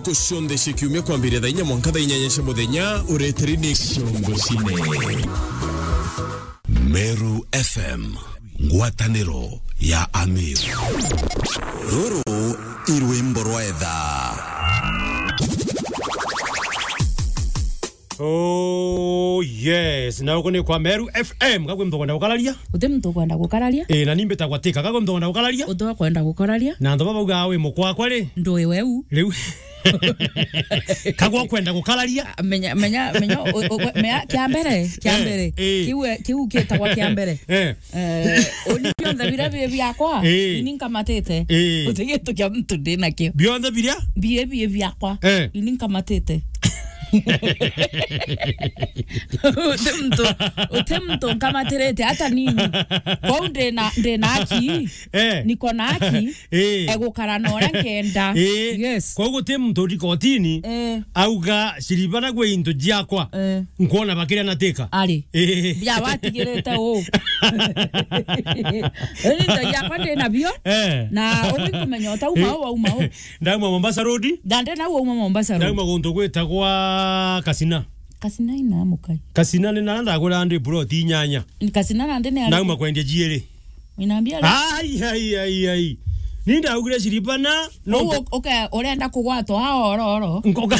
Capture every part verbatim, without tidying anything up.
Ntuku cionthe cia kiumia kwambiria thaa inya mwanka thaa inyanya cia muthenya, ureteri ni Ciongo Cine. Meru F M, ngwataniro ya Amiru. Ruru i rwimbo rwa etha. Oh, yes. Na uku ni kwa Meru F M. Gakwi muntu ukwenda gukararia? Uti muntu ukwenda gukararia? Eh, na ni mbitagwa Tika. Gakwi muntu ukwenda gukararia? Uti ukwenda gukararia? Na antu baba bauga wi mukwakwa ri? Ndui weu. Riu. Kagwa ukwenda gukararia? Menya, menya, menya, u-, u-, menya, kia mbere, kia Eh, mbere. Eh. Kiu, kiu kitagwa kia mbere. Eh. Eh, uni bionthe biria bi biakwa, Eh. ini nkamatite. Eh. Uti gintu kia muntu ndi nakio. Bionthe biria? Bie, bie biakwa. Eh. Ini nkamatite. Uti muntu, uti muntu nkamatirite hata nini. Kwou ndi na, ndi na haki. Eh. Niko na haki. Eh. Egukara na uria nkenda. Eh. Yes. Kwou guti muntu uri kotini, Eh. auga, "Shiribana gwe into jiakwa." Eh. Nkwona bakiria na Tika. Ari. Eh. Bia watigirite u. Ini into jiakwa ndi nabio. Eh. Na ugwi kumenya utau Eh. mau, au mau. Ndauma Mombasa Road. Ndande nau uma Mombasa Road. Ndauma guntu gwitagwa Kasina. Kasina ina mukai. Kasina ni na ndagura ndi plot inyanya. Ni Kasina na ndene ya Ndauma kwendia jiiri. Inambia le. Ai, ai, ai, ai. Ni ndaugire shiribana, no Ugu, uke, urenda kugwatwa ha ororo. Nkoka.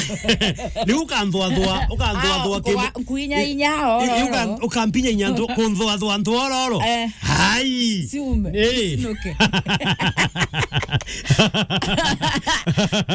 Ni ukanthwa thwa, ukanthwa Ah, thwa uka-, kimu-, nkuinya inya I-, i-, uka-, ororo. Ukampinya inya nthu-, kunthwa thwa nthu ororo. Eh. Ai. Siume. Eh. Sinuke.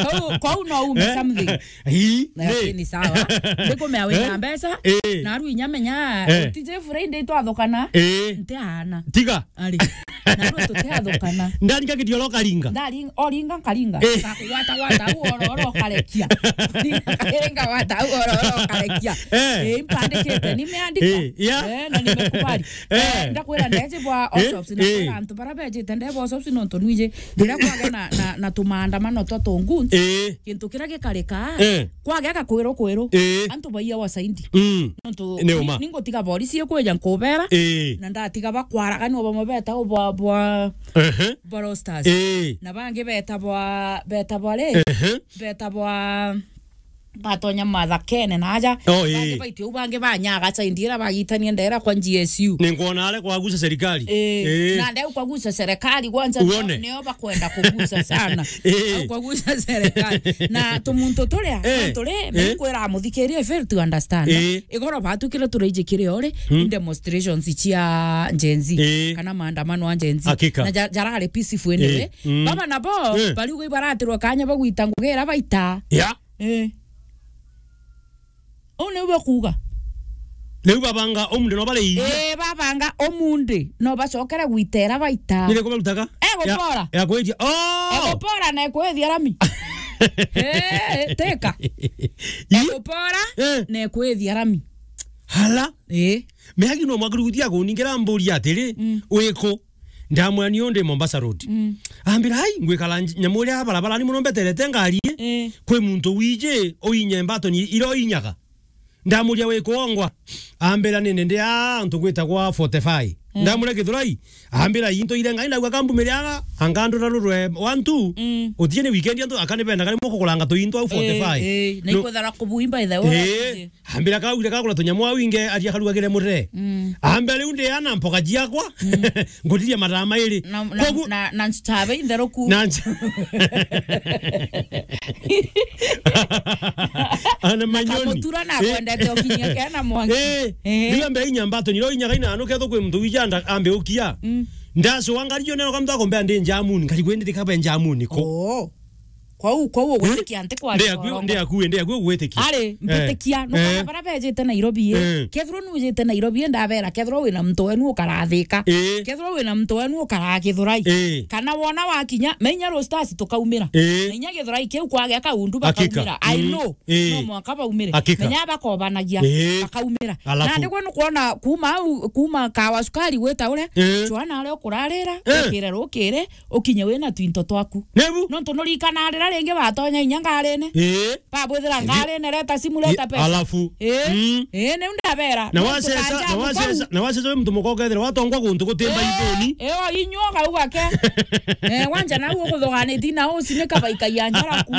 Kwou, kwou no ume Eh. something. Ii, Lakini ni. Sawa. Ndikumea wina Eh? mbeca, Eh. na aru inya menya, Eh. tije Friday twathukana, Eh. ntiaana. Tiga. Ari. Na aru tutiathukana. Ndaringa kidiolo karinga. Ndaring-, oringa nkaringa. Eh. Ngakugwata gwata au oro oro ukarekia. Nkaringa gwata au oro oro ukarekia. Eh. Eh, impandikite, nimeandika. Eh, yeah. Eh, na nimekubali. Eh. Eh, ndakwira ndeje bwa Eh, Osops, eh. Ndakwira antu bara bejite ndebo Osops nontu nwiji. Riria kwagea na, na, na tumaandamano twa tunguns, Eh. Kintu kiria gikarika, Eh. kwagea gakwirwo kwirwo, Eh. antu baiya wasaindi. Mm. Nontu Ni uma. ni, ningutiga borisi ikwija nkubera, Eh. na ndatiga bakwaraganua bamwe beta bwa, bwa, Ehe. bwa Rosters. Eh. Na bangi beta bwa, beta bwa ri? Ehe. Beta bwa batonya mathakene na aja. Oh, Bangi eh. baitio u bangi banyaga saindi ira bagitania ndera kwa G S U. Ni nkwona are kwagusa serikali. Eh, Eh. na ndeu kwagusa serikali kwanza nio, Uone. nio bakwenda kugusa sana. Eh. Au kwagusa serikali. Na tumuntu turia, Eh. na turi, Eh. mekwira muthikirie fail to understand. Eh. Igoro batukire turaijikire ori, Hmm. in demonstrations cia Gen Z, Eh. kana maandamano a Gen Z. Hakika. Na ja-, jarari peaceful anyway. Eh. Mm. Baba nabo, Eh. bariuga ibaratirwa kanya bagwita ngugi ira baita. Ya. Eh. Uu niu bakuuga. Riu babanga umunthi no bari inya. Ii, babanga umunthi no bacokere gwitera baita. Ni riku barutaga? Egupora. Ya, ya kwithia. Oh! Egupora na ekwithia rami. Ii, Tika. Ii? Egupora Eh. na ekwithia rami. Hala? Ii. Meagi no mwakirugutia kuningira mburi atiri, Mm. wiku? Ndamwira ni undi Mombasa Road. Mm. Ambira, "Ai, ngwikara nj-, nyamu iria barabara ni muno mbeterete ngari, Eh. kwi muntu wiji uinye mbatoni ira uinyaga." Ndamuria, "Wiku ongwa?" Ambira, "Ni ndi a antu gwitagwa forty-five." Eh. Ndamuria, "Githurai?" Ambira, "Into ire ngai ndauga kambumiriaga, angandura rurwe one two, Mm. utie ni weekend antu akani bendaga ni mukukuranga tuinto au forty-five." Eh, eh, na No. ikwethera kubuimba ithe Eh. Ambira kaugire kagura tunyamu au inge aria karugagire murire. Mm. Ambira riu ndi ana mpoka ciakwa. Mm. Ngutirie mathaa mairi. Na, na, Kogu na, na nchitabe intheruku. Na nch-, ana manyoni. Kamutura na Eh. kwendete ukinyia kena mwangi. Eh. Eh. Riu ambe inya mbato nyiro inya kaina ano ketho kwi muntu wijanda ambe ukia. Mm. Ndaso wangario nero kamta kombe ndi njamuni, ngari kwendi kabe njamuni ko. Oh. Kwou, kwou ugwitikia nti kwa Ndi aku, ndi aku, ndi aku ugwitikia. Ari, Eh. mbitikia, nukona Eh. bara bejite Nairobi, eh. Eh. Kethirwa nujite Nairobi, ndabera, kethirwa wina muntu wenu ukarathika. Eh. Kethirwa wina muntu wenu ukaragithurai. Eh. Kana wona wakinya, menya Rosters tukaumira. Eh. Na inya githurai kiu kwagea kaundu Hakika. bakaumira. I Mm. know. Eh. No mwaka baumire. Hakika. Menya bakobanagia, Eh. bakaumira. Alafu. Nandi gwe nukwona kuma au, kuma kawa sukari gwita uria, Eh. Joana aria ukurarira, Eh. ukire rukiri, ukinye wina twinto twaku. Nebu? Nontu nurikana rira ringi batonya inya ngarine. Ii. Babwithira Ii. ngarine, reta simu, reta Ii, pesa. Alafu. Ii. Mm. Ii, niu ndabera. Na Nontu wacesa, kanja na wacesa, mukaru. na wacesa wi muntu muka ukethira watongwa guntu gutimba Ii, ithuni. Ii, o inyuo gau gake. Eh, wanja nau ukuthuganiti na uci ni kabaikaia njaraku.